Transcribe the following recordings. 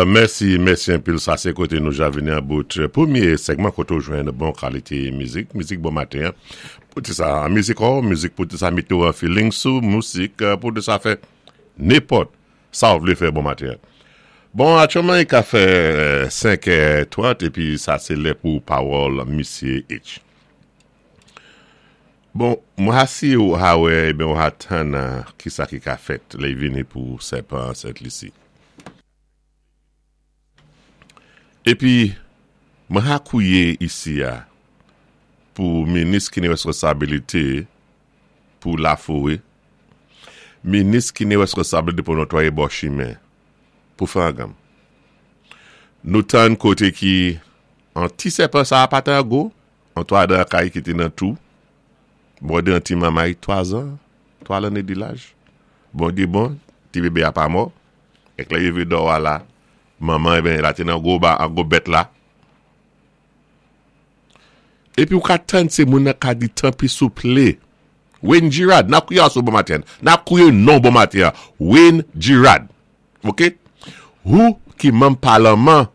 Mèsi, mèsi anpil. Sa sé koté nou ja vini an bout pwémyé sègman koté ou jwenn bon kalité mizik, mizik bon maten an. Pou ti sa mizik ou, mizik pou ti sa mété ou an feeling sou, misik pou ti sa fè nenpòt sa ou vlé fè bon maten an. Bon, aktyèlman i ka fè 5 è 30 épi sa sé lè pou pawòl Misye H. Bon, mwen ha si ou ha wè eben ou ha tann kisa ki ka fèt lè y vini pou sèpan an Sent Lisi. Epi, mwen ha kouye isi a pou minis ki ni reskonsabilite pou lafore, minis ki ni reskonsabilite pou notwaye bò chimen, pou fè anganm. Nou tann kote ki an ti sèpan sa a pa ta gwo, An 3 dan kay ki te nan tou bòde an ti manmay 3 zan, 3 lanne di laj. Bondye bon, ti bebe a pa mò. Èk lè yo rive dò a la, manman eben la te nan gwo ba, an gwo bèt la. Epi ou ka tann se moun nan ka di tanpri souple. Wayne Girard, n ap kriye asou bon maten. N ap kriye non bon maten an. Wayne Girard. Ok? Ou ki manm palanman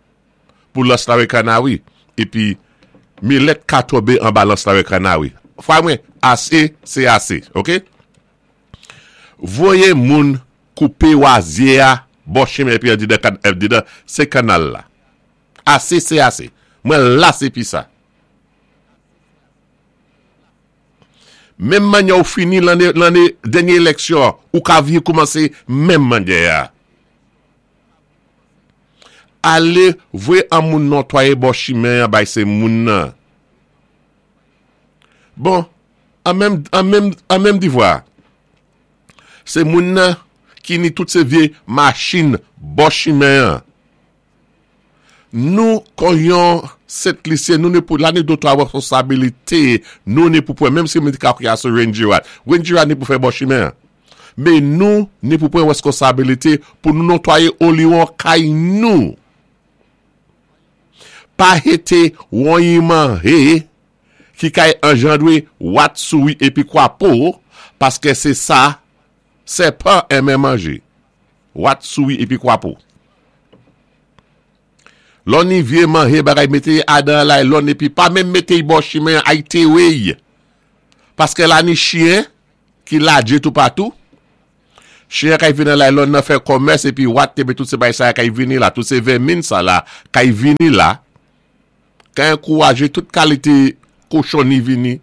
pou lans lawè kanawi epi milèt ka tonbe anba lans lawè kanawi fwa mwen ase se ase ok voye moun koupe wazye a bò chimen epi andidan andidan se kanal la ase se ase mwen las epi sa menm manyè ou fini lanne lanne dènye eleksyon ou ka vye koumanse menm manyè a. Ale voye an moun nòtwaye bò chimen an bay se moun nan. Bon, an menm, an menm, an menm divwa. Se moun nan ki ni tout se vye machin bò chimen an. Nou kon yon Sent Lisyen, nou ni pou, la ni do 3 responsabilite nou ni pou pran, menm si moun di ka kriye a sou Wayne Girard. Wayne Girard ni pou fè bò chimen an. Men nou ni pou pran reskonsabilite pou nou notwaye oliwon kay nou. Pa hete wonyiman he ki kay anjandre wat souri epi kwapo paske se sa sèpan enmen manje. Wat souri epi kwapo. Lò ni vye manje bagay mete adan laylòn epi pa menm mete y bò chimen ay tere y. Paske la ni chyen ki ladje toupatou. Chyen kay vini nan laylòn nan fè kòmès epi wat epi tout se bagay sa kay vini la, tout se vèmin sa la kay vini la, kay ankouraje tout kalite kochonni vini.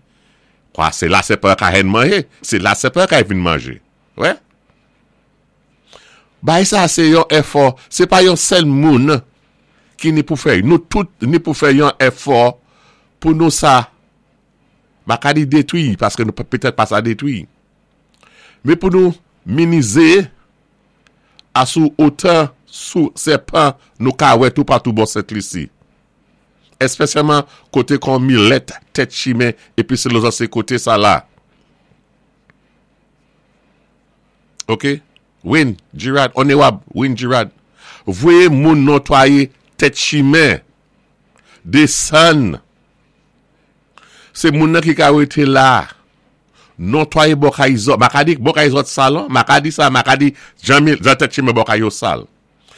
Kwa se la sèpan ka hèn manje, se la sèpan kay vin manje. Wè? Bagay sa se yon èfò, se pa yon sèl moun ki ni pou fè. Nou tout ni pou fè yon èfò pou nou sa. M pa ka di detwi, paske nou petèt pa sa detwi. Men pou nou minize a sou otan sou sèpan nou ka wè toupatou bò Sent Lisi. Espesyalman kote kon milèt, tèt chimen epi se lozan se kote sa la. Ok. Wayne Girard, Onerab Wayne Girard, voye moun notwaye tèt chimen, desann. Se moun nan ki ka rete la. Notwaye bò kay zòt. Ma ka di bò kay zòt sal an. Ma ka di sa, ma ka di jan mi, jan tèt chimen bò kay yo sal.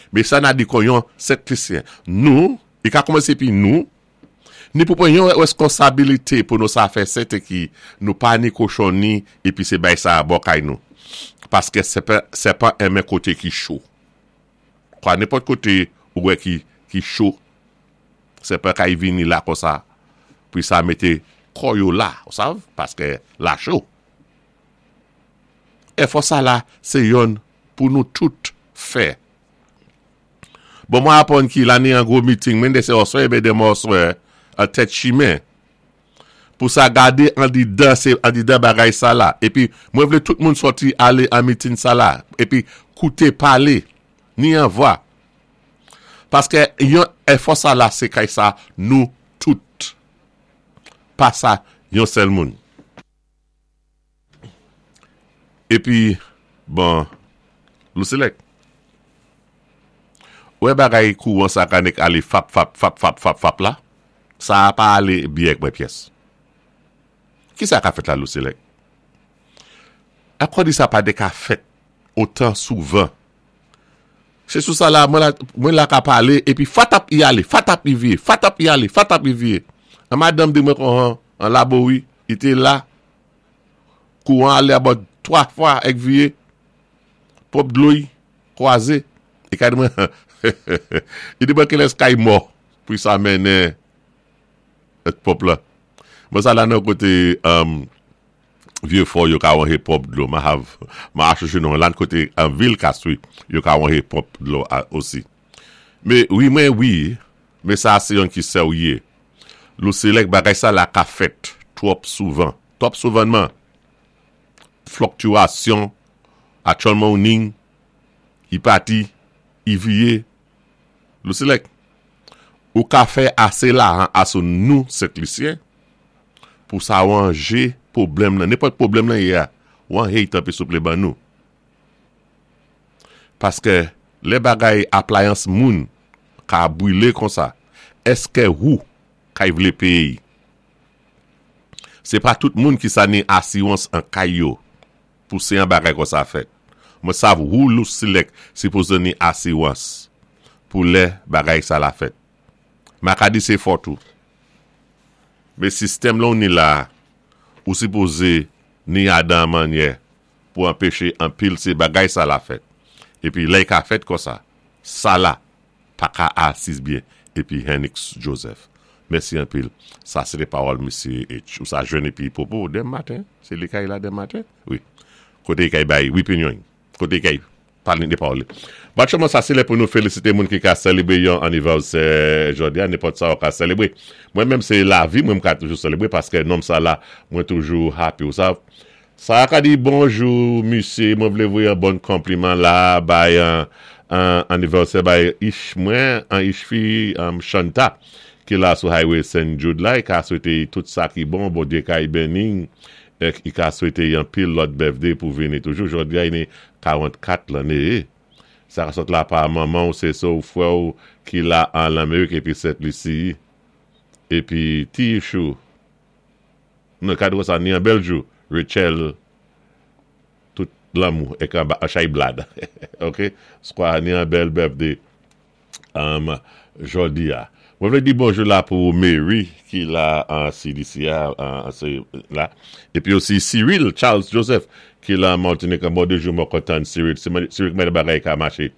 Men sa na di kon yon Sent Lisyen. Nou, i ka koumanse pi nou, ni pou pran yon reskonsabilite pou nou sa fè sèten ki nou pa ni kochon ni epi se bay sa a bò kay nou. Paske sèpan, sèpan enmen kote ki cho. Kwa nenpòt kote ou wè ki, ki cho. Sèpan kay vini la konsa pou sa mete kò yo la, ou sav, paske la cho. Efò sa la se yonn pou nou tout fè. Bon mwen aprann ki la ni an gwo meeting men de se oswè ebe de mòswè an tèt chimen. Pou sa gade andidan se andidan bagay sa la. Epi mwen vle tout moun sòti ale an meeting sa la. Epi koute pale ni an vwa. Paske yon efò sa la se kay sa nou tout. Pa sa yon sèl moun. Epi bon Lousilèk. Ou wè bagay kouran sa ka nik ale fap fap fap fap fap fap la? Sa a pa ale byen ak mwen pyès. Kisa ka fèt la Lousilèk? Akò di sa pa de ka fèt otan souvan. Sé sou sa la mwen la ka palé épi fatap i alé, fatap i viyé, fatap i alé, fatap i viyé. An madanm di mwen kon an Labowi, i té la, kouwan alé about 3 fwa èk viyé, pwòp dlo i kwazé. I ka di mwen, i di mwen kilès kay mò pou sa mennen pwòp la. Mwen sa la nan koté Vieux Fort yo ka wanhe pwòp dlo ma hav ma achoche non lan kote an vil Castries yo ka wanhe pwòp dlo a osi. Me wi mwen wi me sa se yon ki sèwye lou selèk bagay sa la ka fèt twòp souvan twòp souvanman flòktiwasyon atchòlman ou ning i pati i viye lou selèk ou ka fè ase lahan aso nou Sentlisyen pou sa ranje pwoblèm nan, nenpòt pwoblèm nan ye a, wan hey tanpri souple ban nou. Paske lè bagay aplayans moun ka brile konsa, eske wou kay vle peye? Se pa tout moun ki sa ni asiwans an kay yo pou se an bagay konsa fèt. Mwen sav wou lou silèk sipoze ni asiwans pou lè bagay sa la fèt. Makadi se fòt ou. Men sistèm lan w ni la a, ou sipoze ni adan an mannyè pou anpeche anpil se bagay sa la fèt. Epi lè y ka fèt konsa, sa la pa ka asis byen epi Hennix Joseph. Mèsi anpil. Sa se te pawòl misye H. Ou sa jwenn epi pwopo demen maten, se li kay la demen maten? Wi. Kote kay bay wi pinyon. Kote kay pale de pawòl li. Batchouman sa se lè pou nou felisite moun ki ka selebre yon anivèsè jodi a, nenpòt sa ou ka selebre. Mwen menm se lavi mwen m ka toujou selebre paske nonm sa la mwen toujou happy ou sav. Sa ka di bonjou misye mwen vle voye yon bon konpliman la bay anivèsè bay ich mwen an ich fi Shanta ki la sou highway Saint Jude la e ka swete tout sa ki bon Bondye kay beni Ek i ka swete y anpil lòt birthday pou vini toujou jodi a i ni 44 lanne e sa ka sot la pa manman w se se w frè w ki la an lanmerik epi sent lisi epi ti ichou nan kad konsa ni an bèl jou Rutshelle tout lanmou ek anba chay blad ok skwa ni an bèl birthday. Um jodi a. Mwen vle di bonjou la pou Mary ki la an CDC a an se la. Epi osi Cyril Charles Joseph ki la an Martinique an bon de jou mwen kontan Cyril. Cyril kman bagay ka mache.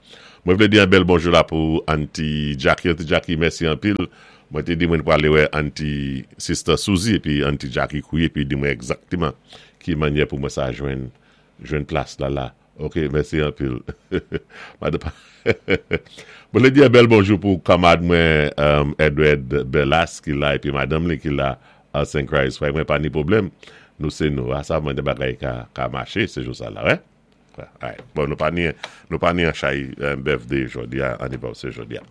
Mwen vle di an bèl bonjou la pou Auntie Jackie. Auntie Jackie mèsi anpil. Mwen te di mwen prale wè Auntie Sister Suzy epi Auntie Jackie kouye epi di mwen egzakteman ki manyè pou mwen sa jwenn jwenn plas la la. Ok mèsi anpil madan pa Mwen vle di yon bèl bonjou pou kanmad mwen Edward Berlas ki la epi madanm li ki la Arts and Christ frè mwen pa ni pwoblèm nou se nou a sa mwen de bagay ka ka mache se jou sa la wè bon nou pa ni nou pa ni an chay birthday jodi a anniversaire jodi a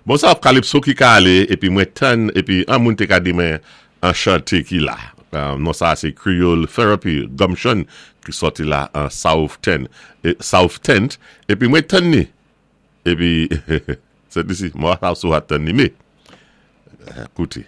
Bon sa calypso ki ka ale epi mwen tann epi an moun te ka di mwen an chante ki la non sa se creole therapy gumption ki sòti la an south 10 south tent epi mwen tann ni epi sèt isi mwen sa sou a tann ni me koute.